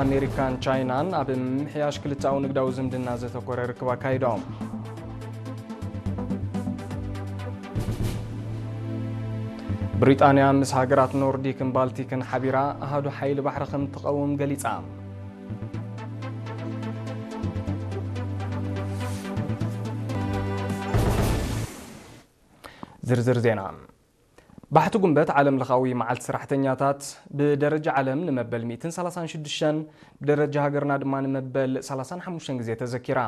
ኣሜሪካን ቻይናን ኣብ ምምሕያሽ ክልተኣዊ ንግዳዊ ዝምድና ዘተኮረ ርክብ ኣካይዶም። ብሪጣንያ ምስ ሃገራት ኖርዲክን ባልቲክን ሓቢራ ኣሃዱ ሓይሊ ባሕሪ ከም ትቐውም ገሊጻ። ዝርዝር ዜና። ባሕቲ ጉንበት ዓለም ለኻዊ መዓልቲ ሰራሕተኛታት ብደረጃ ዓለም ንመበል ሚእትን ሰላሳን ሽዱሽተን፣ ብደረጃ ሃገርና ድማ ንመበል ሰላሳን ሓሙሽተን ግዜ ተዘኪራ።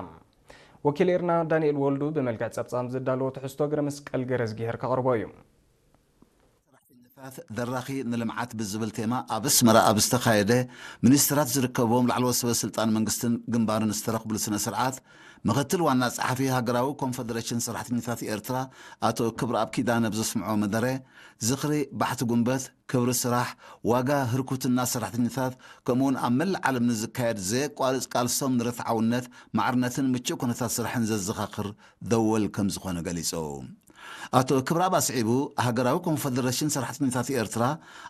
ወኪል ኤርና ዳንኤል ወልዱ ብመልክዕ ጸብጻብ ዘዳለዎ ትሕዝቶ ገረ መስቀል ገረዝጊሄር ከቕርቦ እዩ። ሰራሕተኛታት ደራኺ ንልምዓት ብዝብል ቴማ ኣብ ኣስመራ ኣብ ዝተኻየደ፣ ሚኒስትራት ዝርከብዎም ላዕለዎት ሰበ ስልጣን መንግስትን ግንባርን ዝተረኽብሉ ስነ ስርዓት፣ ምክትል ዋና ጸሓፊ ሃገራዊ ኮንፈደሬሽን ሰራሕተኛታት ኤርትራ ኣቶ ክብረኣብ ኪዳነ ብዘስምዖ መደረ፣ ዝኽሪ ባሕቲ ጉንበት፣ ክብሪ ስራሕ፣ ዋጋ ህርኩትና ሰራሕተኛታት፣ ከምኡውን ኣብ መላእ ዓለም ንዝካየድ ዘየቋርጽ ቃልሶም ንርትዓውነት፣ ማዕርነትን ምቹእ ኩነታት ስራሕን ዘዘኻኽር ደወል ከም ዝኾነ ገሊጹ። ኣቶ ክብረኣብ ኣስዒቡ፣ ሃገራዊ ኮንፈደሬሽን ሰራሕተኛታት ኤርትራ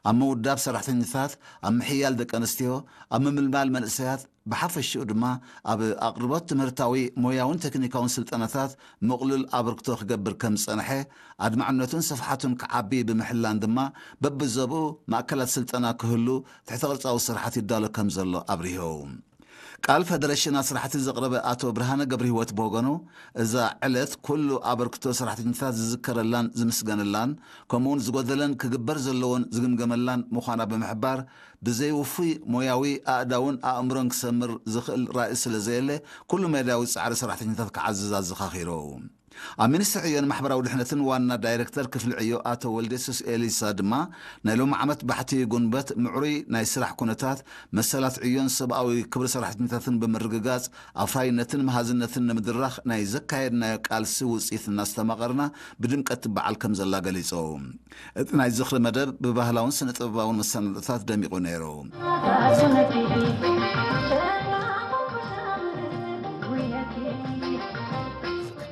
ኣብ ምውዳብ ሰራሕተኛታት፣ ኣብ ምሕያል ደቂ ኣንስትዮ፣ ኣብ ምምልማል መንእሰያት፣ ብሓፈሽኡ ድማ ኣብ ኣቕርቦት ትምህርታዊ፣ ሞያውን ቴክኒካውን ስልጠናታት ምቕሉል ኣበርክቶ ክገብር ከም ዝጸንሐ፣ ኣድማዕነቱን ስፍሓቱን ክዓቢ ብምሕላን ድማ በብዞብኡ ማእከላት ስልጠና ክህሉ ትሕተ ቅርጻዊ ስራሓት ይዳሎ ከም ዘሎ ኣብሪሁ። ቃል ፈደረሽን ኣስራሕቲ ዘቕረበ ኣቶ ብርሃነ ገብረህይወት ብወገኑ፣ እዛ ዕለት ኩሉ ኣበርክቶ ሰራሕተኛታት ዝዝከረላን ዝምስገነላን፣ ከምኡውን ዝጎደለን ክግበር ዘለዎን ዝግምገመላን ምዃና ብምሕባር፣ ብዘይ ውፉይ ሞያዊ ኣእዳውን ኣእምሮን ክሰምር ዝኽእል ራእይ ስለ ዘየለ፣ ኩሉ መዳያዊ ጻዕሪ ሰራሕተኛታት ክዓዝዝ ኣዘኻኺሩ። ኣብ ሚኒስትሪ ዕዮን ማሕበራዊ ድሕነትን ዋና ዳይሬክተር ክፍሊ ዕዮ ኣቶ ወልደየሱስ ኤሊሳ ድማ፣ ናይ ሎሚ ዓመት ባሕቲ ጉንበት ምዕሩይ ናይ ስራሕ ኩነታት፣ መሰላት ዕዮን ሰብኣዊ ክብሪ ሰራሕተኛታትን ብምርግጋጽ፣ ኣፍራይነትን መሃዝነትን ንምድራኽ ናይ ዘካየድናዮ ቃልሲ ውጽኢት እናስተማቐርና ብድምቀት ትበዓል ከም ዘላ ገሊጹ። እቲ ናይ ዝኽሪ መደብ ብባህላውን ስነ ጥበባውን መሰናዶታት ደሚቑ ነይሩ። ከምዚ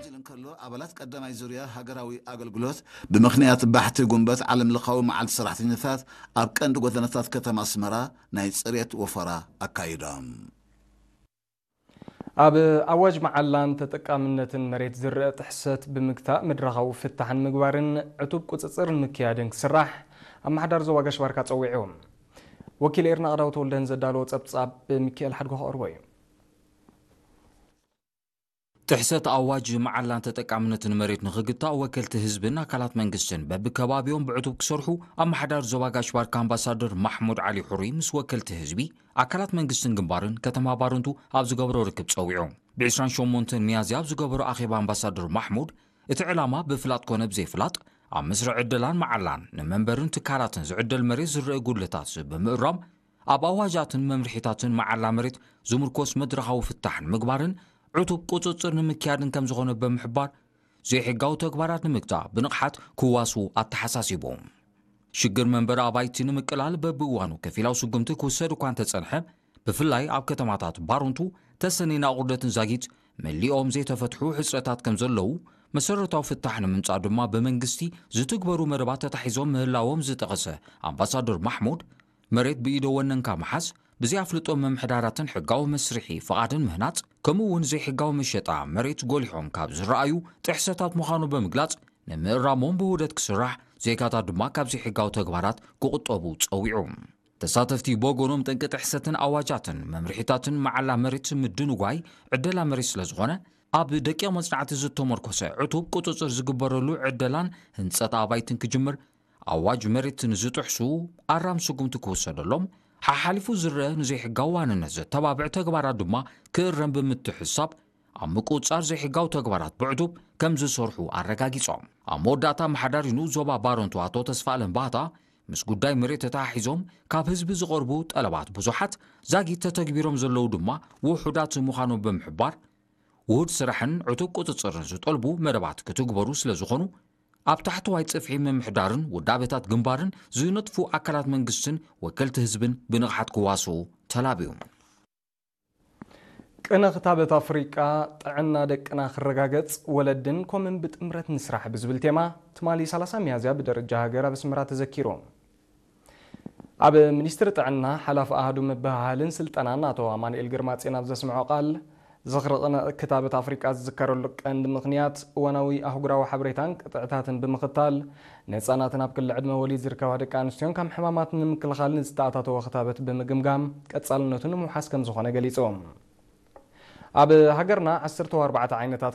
ኢሉ እንከሎ፣ ኣባላት ቀዳማይ ዙርያ ሃገራዊ ኣገልግሎት ብምኽንያት ባሕቲ ጉንበት ዓለም ለኻዊ መዓልቲ ሰራሕተኛታት ኣብ ቀንዲ ጎደናታት ከተማ ኣስመራ ናይ ጽሬት ወፈራ ኣካይዶም። ኣብ ኣዋጅ መዓላን ተጠቃምነትን መሬት ዝረአ ጥሕሰት ብምግታእ መድረኻዊ ፍታሕ ንምግባርን ዕቱብ ቁጽጽር ንምክያድን ክስራሕ ኣመሓዳሪ ዞባ ጋሽ ባርካ ጸዊዑ። ወኪል ኤርና ኣቕዳው ተወልደን ዘዳለዎ ጸብጻብ ሚካኤል ሓድጎ ከቕርቦ እዩ። ጥሕሰት ኣዋጅ መዓላን ተጠቃምነትን መሬት ንኽግታእ ወከልቲ ህዝብን ኣካላት መንግስትን በብከባቢኦም ብዕቱብ ክሰርሑ ኣመሓዳሪ ዞባ ጋሽ ባርካ ኣምባሳደር ማሕሙድ ዓሊ ሑሪ ምስ ወከልቲ ህዝቢ፣ ኣካላት መንግስትን ግንባርን ከተማ ባረንቱ ኣብ ዝገበሮ ርክብ ጸዊዑ። ብ ዕስራን ሸሞንተን ሚያዝያ ኣብ ዝገበሮ ኣኼባ ኣምባሳደር ማሕሙድ፣ እቲ ዕላማ ብፍላጥ ኮነ ብዘይፍላጥ ኣብ መስርዕ ዕደላን መዓላን ንመንበርን ትካላትን ዝዕደል መሬት ዝረአ ጉድለታት ብምእራም፣ ኣብ ኣዋጃትን መምርሒታትን መዓላ መሬት ዝምርኮስ መድረኻዊ ፍታሕ ንምግባርን ዕቱብ ቁጽጽር ንምክያድን ከም ዝኾነ ብምሕባር፣ ዘይሕጋዊ ተግባራት ንምግታእ ብንቕሓት ክዋስቡ ኣተሓሳሲቡ። ሽግር መንበሪ ኣባይቲ ንምቅላል በብእዋኑ ከፊላዊ ስጉምቲ ክውሰድ እኳ እንተጸንሐ፣ ብፍላይ ኣብ ከተማታት ባሩንቱ፣ ተሰነይን ኣቑርደትን ዛጊት መሊኦም ዘይተፈትሑ ሕጽረታት ከም ዘለዉ፣ መሰረታዊ ፍታሕ ንምምጻእ ድማ ብመንግስቲ ዝትግበሩ መደባት ተታሒዞም ምህላዎም ዝጠቐሰ ኣምባሳደር ማሕሙድ፣ መሬት ብኢደ ወነንካ ምሓዝ፣ ብዘይ ኣፍልጦ ምምሕዳራትን ሕጋዊ መስርሒ ፍቓድን ምህናጽ፣ ከምኡ እውን ዘይሕጋዊ መሸጣ መሬት ጎሊሖም ካብ ዝረኣዩ ጥሕሰታት ምዃኑ ብምግላጽ፣ ንምእራሞም ብውህደት ክስራሕ፣ ዜጋታት ድማ ካብ ዘይሕጋዊ ተግባራት ክቑጠቡ ጸዊዑ። ተሳተፍቲ ብወገኖም፣ ጠንቂ ጥሕሰትን ኣዋጃትን መምርሒታትን መዓላ መሬት ምድንጓይ ዕደላ መሬት ስለ ዝኾነ፣ ኣብ ደቂቕ መጽናዕቲ ዝተመርኮሰ ዕቱብ ቁጽጽር ዝግበረሉ ዕደላን ህንጸት ኣባይትን ክጅምር ኣዋጅ መሬት ንዝጥሕሱ ኣራም ስጉምቲ ክውሰደሎም፣ ሓሓሊፉ ዝረአ ንዘይሕጋዊ ዋንነት ዘተባብዕ ተግባራት ድማ ክእረም ብምትሕስሳብ፣ ኣብ ምቁጽጻር ዘይሕጋዊ ተግባራት ብዕቱብ ከም ዝሰርሑ ኣረጋጊጾም። ኣብ መወዳእታ፣ ኣመሓዳሪ ንኡስ ዞባ ባረንቱ ኣቶ ተስፋኣለም ባህታ፣ ምስ ጉዳይ መሬት ተተሓሒዞም ካብ ህዝቢ ዝቐርቡ ጠለባት ብዙሓት ዛጊት ተተግቢሮም ዘለዉ ድማ ውሑዳት ምዃኖም ብምሕባር፣ ውሁድ ስራሕን ዕቱብ ቁጽጽርን ዝጠልቡ መደባት ክትግበሩ ስለ ዝኾኑ፣ ኣብ ታሕተዋይ ጽፍሒ ምምሕዳርን ውዳበታት ግንባርን ዝነጥፉ ኣካላት መንግስትን ወከልቲ ህዝብን ብንቕሓት ክዋስኡ ተላብዩ። ቅነ ክታበት ኣፍሪቃ ጥዕና ደቅና ክረጋገጽ ወለድን ኮምን ብጥምረት ንስራሕ ብዝብል ቴማ ትማሊ ሰላሳ ሚያዝያ ብደረጃ ሃገር ኣብ ኣስመራ ተዘኪሩ። ኣብ ሚኒስትሪ ጥዕና ሓላፊ ኣሃዱ ምብህሃልን ስልጠናን ኣቶ ኣማኑኤል ግርማጽዮን ኣብ ዘስምዖ ቃል፣ ዝኽሪ ቅነ ክታበት ኣፍሪቃ ዝዝከረሉ ቀንዲ ምኽንያት እዋናዊ ኣህጉራዊ ሓበሬታን ቅጥዕታትን ብምኽታል፣ ንህጻናትን ኣብ ክሊ ዕድመ ወሊድ ዝርከባ ደቂ ኣንስትዮን ካብ ሕማማት ንምክልኻል ንዝተኣታተወ ክታበት ብምግምጋም ቀጻልነቱ ንምውሓስ ከም ዝኾነ ገሊጹ። ኣብ ሃገርና ዓሰርተ ኣርባዕተ ዓይነታት